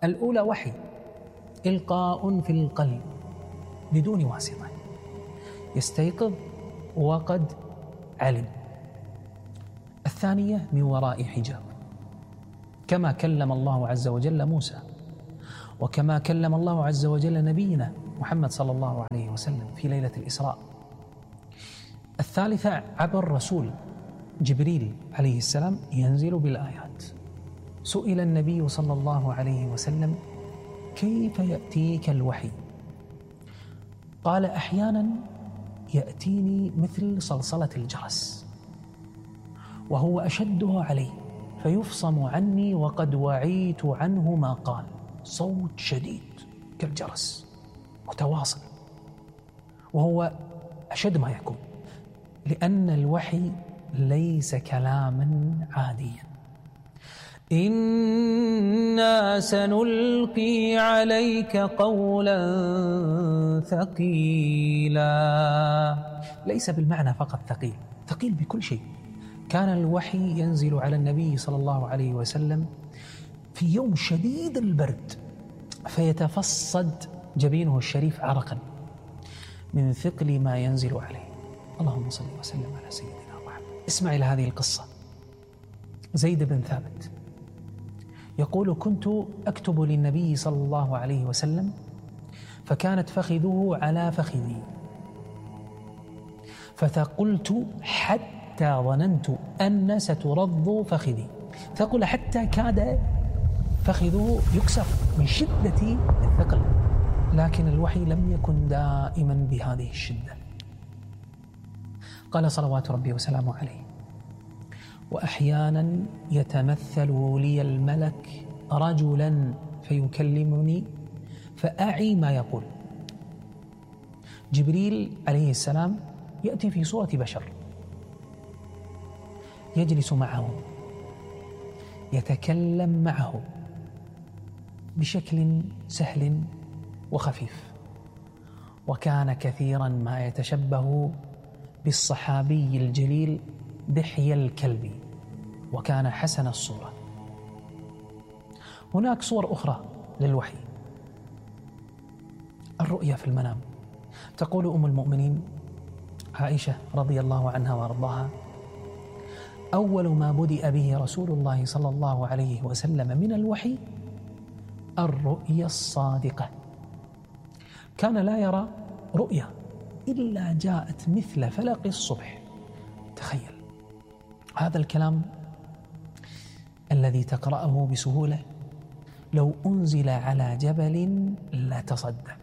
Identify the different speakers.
Speaker 1: الأولى وحي إلقاء في القلب بدون واسطة، يستيقظ وقد علم. الثانية من وراء حجاب، كما كلم الله عز وجل موسى، وكما كلم الله عز وجل نبينا محمد صلى الله عليه وسلم في ليلة الإسراء. الثالثة عبر رسول جبريل عليه السلام ينزل بالآيات. سئل النبي صلى الله عليه وسلم: كيف يأتيك الوحي؟ قال: أحيانا يأتيني مثل صلصلة الجرس، وهو أشده علي فيفصم عني وقد وعيت عنه ما قال. صوت شديد كالجرس متواصل، وهو أشد ما يكون، لأن الوحي ليس كلاما عاديا. إنا سنلقي عليك قولا ثقيلا. ليس بالمعنى فقط ثقيل، ثقيل بكل شيء. كان الوحي ينزل على النبي صلى الله عليه وسلم في يوم شديد البرد، فيتفصد جبينه الشريف عرقا من ثقل ما ينزل عليه. اللهم صل وسلم على سيدنا محمد. اسمع إلى هذه القصة. زيد بن ثابت يقول: كنت أكتب للنبي صلى الله عليه وسلم، فكانت فخذه على فخذي، فثقلت حتى ظننت أن سترض فخذي. ثقل حتى كاد فخذه يكسر من شدة الثقل، لكن الوحي لم يكن دائما بهذه الشدة. قال صلوات ربي وسلامه عليه: وأحيانا يتمثل لي الملك رجلا فيكلمني فأعي ما يقول. جبريل عليه السلام يأتي في صورة بشر، يجلس معه، يتكلم معه بشكل سهل وخفيف، وكان كثيرا ما يتشبه بالصحابي الجليل دحية الكلبي، وكان حسن الصورة. هناك صور أخرى للوحي. الرؤيا في المنام. تقول أم المؤمنين عائشة رضي الله عنها وارضاها: أول ما بدأ به رسول الله صلى الله عليه وسلم من الوحي الرؤيا الصادقة. كان لا يرى رؤيا إلا جاءت مثل فلق الصبح. تخيل هذا الكلام الذي تقرأه بسهولة، لو أنزل على جبل لا تصدع.